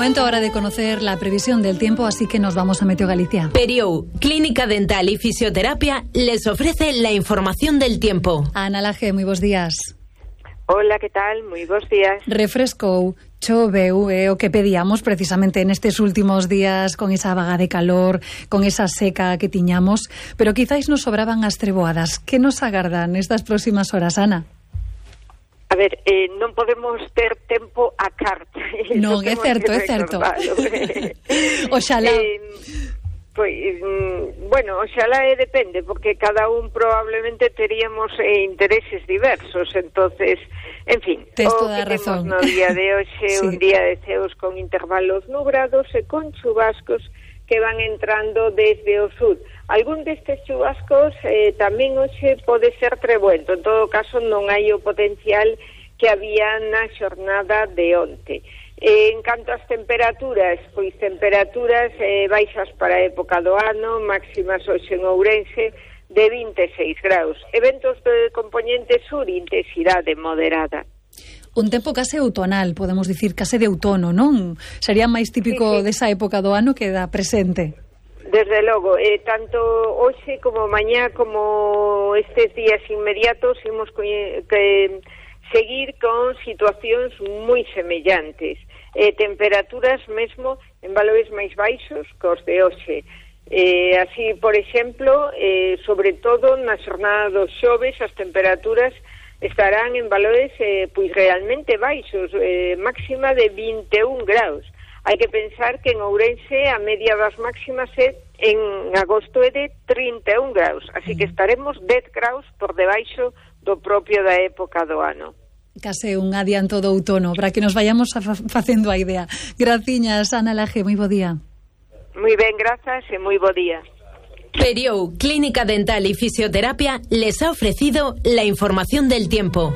Momento ahora de conocer la previsión del tiempo, así que nos vamos a Meteo Galicia. Periou, Clínica Dental y Fisioterapia, les ofrece la información del tiempo. Ana Laje, moi bons días. Hola, que tal? Moi bons días. Refrescou, choveu, o que pedíamos precisamente nestes últimos días con esa vaga de calor, con esa seca que tiñamos, pero quizáis nos sobraban as treboadas. Que nos agardan estas próximas horas, Ana? A ver, non podemos ter tempo a carta. Non, é certo, é certo. Oxalá. Bueno, oxalá depende, porque cada un probablemente teríamos intereses diversos, entonces, en fin, tes toda a razón. No día de hoxe, sí. Un día de ceos con intervalos nubrados e con chubascos que van entrando desde o sur. Algún destes chubascos tamén hoxe pode ser trebuento, en todo caso non hai o potencial que había na xornada de onte. En canto ás temperaturas, pois temperaturas baixas para a época do ano, máximas hoxe en Ourense de 26 graus. Eventos de componente sur, intensidade moderada. Un tempo case outonal, podemos dicir, case de outono, non? Sería máis típico sí. desa época do ano que da presente. Desde logo, tanto hoxe como mañá como estes días inmediatos imos que seguir con situacións moi semellantes. Temperaturas mesmo en valores máis baixos cos de hoxe. Así, por exemplo, sobre todo na xornada dos xoves as temperaturas estarán en valores pois realmente baixos, máxima de 21 graus. Hai que pensar que en Ourense a media das máximas en agosto é de 31 graus, así que estaremos 10 graus por debaixo do propio da época do ano. Case un adianto do outono, para que nos vayamos facendo a idea. Graciñas, Ana Laje, moi bo día. Moi ben, grazas e moi bo día. Periou, Clínica Dental y Fisioterapia, les ha ofrecido la información del tiempo.